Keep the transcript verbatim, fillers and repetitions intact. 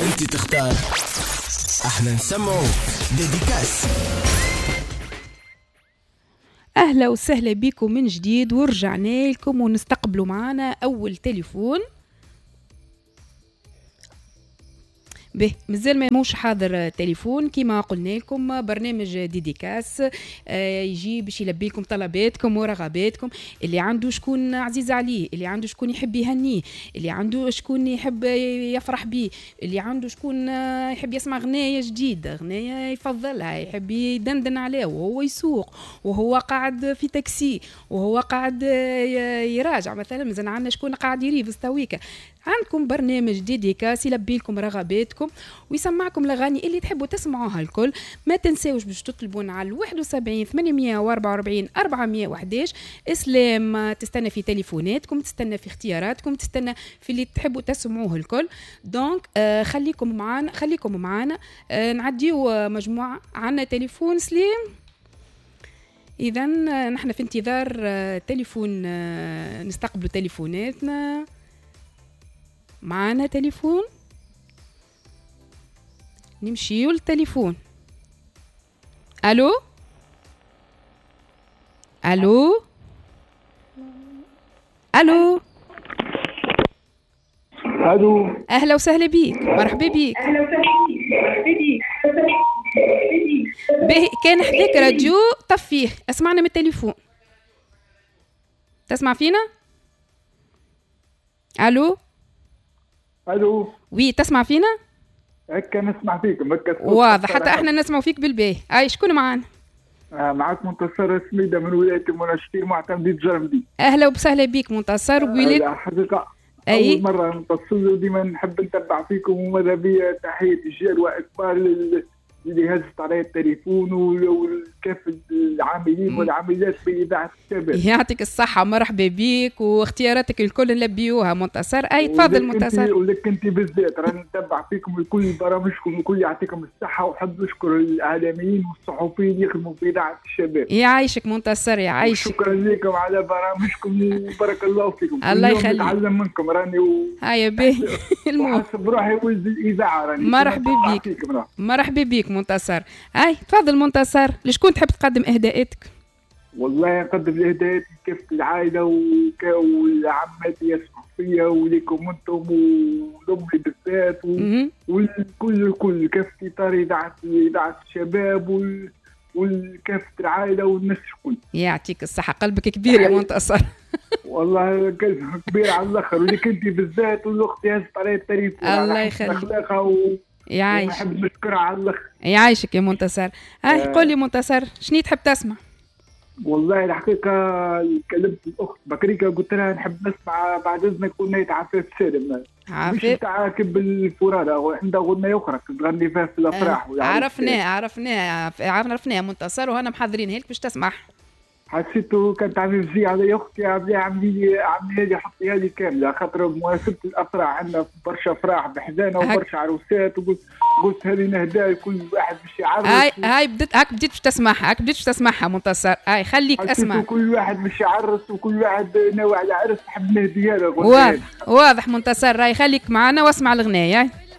انت تختار، احنا نسمعو dédicace. اهلا وسهلا بكم من جديد، ورجعنا لكم ونستقبلوا معنا اول تليفون. به مازال ما موش حاضر تليفون. كما قلنا لكم برنامج dédicace آه يجي باش يلبي لكم طلباتكم ورغباتكم. اللي عنده شكون عزيز عليه، اللي عنده شكون يحب يهنيه، اللي عنده شكون يحب يفرح بيه، اللي عنده شكون يحب يسمع غنايه جديدة، غنايه يفضلها، يحب يدندن عليها وهو يسوق وهو قاعد في تاكسي وهو قاعد يراجع مثلا. مازال عندنا شكون قاعد يريفز تويكا. عندكم برنامج dédicace يلبي لكم رغباتكم ويسمعكم الاغاني اللي تحبوا تسمعوها الكل. ما تنساوش باش تطلبون على واحد وسبعين ثمانمية وأربعة وأربعين أربعمية وأحداش. اسلام تستنى في تليفوناتكم، تستنى في اختياراتكم، تستنى في اللي تحبوا تسمعوه الكل. donc آه خليكم معانا، خليكم معانا. آه نعديو مجموعة. عندنا تليفون سليم. اذا نحن في انتظار آه تليفون، آه نستقبلوا تليفوناتنا. معانا تليفون، نمشيو للتليفون. الو الو الو الو. اهلا وسهلا بيك، مرحبا بيك. اهلا وسهلا بيك، مرحبا بيك. باهي، كان حداك راديو طفيه، اسمعنا من التليفون. تسمع فينا؟ الو الو. oui، تسمع فينا؟ هكا نسمع فيكم هكا واضح، حتى احنا نسمع فيك بالباهي. اي شكون معانا؟ آه معاك منتصر سميدة من ولاية المنستير معتمدية جرمدي. اهلا وسهلا بيك منتصر. ولاية الحقيقة أي؟ أول مرة نتصل وديما نحب نتبع فيكم، وماذا بيا تحية الجيل وإكبار لل... اللي هزت علي التليفون والكافة العاملين والعاملات في إذاعة الشباب. يعطيك الصحة، مرحبا بيك، واختياراتك الكل نلبيوها منتصر. أي تفضل منتصر. ولك أنت بالذات راني نتبع فيكم الكل برامجكم الكل، يعطيكم الصحة، وحب نشكر الإعلاميين والصحفيين اللي يخدموا في إذاعة الشباب. يعيشك منتصر، يعيشك. شكرا لكم على برامجكم وبارك الله فيكم. الله يخليك. نتعلم منكم راني و... هيا باهي. وحسب روحي ولد الإذاعة راني. مرحبا بيك، مرحبا بيك منتصر. هاي تفضل منتصر، لشكون تحب تقدم اهداءاتك؟ والله نقدم الاهداءات لكافة العائلة وك... والعمات يسمعوا فيا وليكم انتم ولامي بالذات و... والكل الكل كافة اطار اذاعة اذاعة الشباب وال... والكافة العائلة والناس الكل. يعطيك الصحة، قلبك كبير يا منتصر. والله قلبك كبير على الاخر، وليك انت بالذات والاخت هزت علي التليفون. الله يخليك. و... يعيشك. نحب نشكرها على الاخر. يعيشك يا منتصر. هاي آه. قول لي منتصر، شنو تحب تسمع؟ والله الحقيقة كلمت الاخت بكريكا قلت لها نحب نسمع بعد اذنك اغنية عفاف سالم. عفاف مش تاع كب الفرادة، عندها اغنية اخرى تغني فيها في الافراح. آه. عرفناها عرفناها عرفناها منتصر، وهنا محضرينها لك باش تسمع. حسيته كانت عامل زي على اختي عامله عامله عامله لي حطيها لي كاملة، خاطر بمناسبة الافراح عندنا برشا افراح بحذانا وبرشا عروسات، وقلت قلت هذه نهداها لكل واحد باش يعرس. هاي هاي بدت هاك بديت باش تسمعها، هاك بديت باش تسمعها منتصر. هاي خليك اسمع. كل واحد باش يعرس وكل واحد ناوي على عرس نحب نهديها له. واضح واضح منتصر، راي خليك معنا واسمع الغنايه.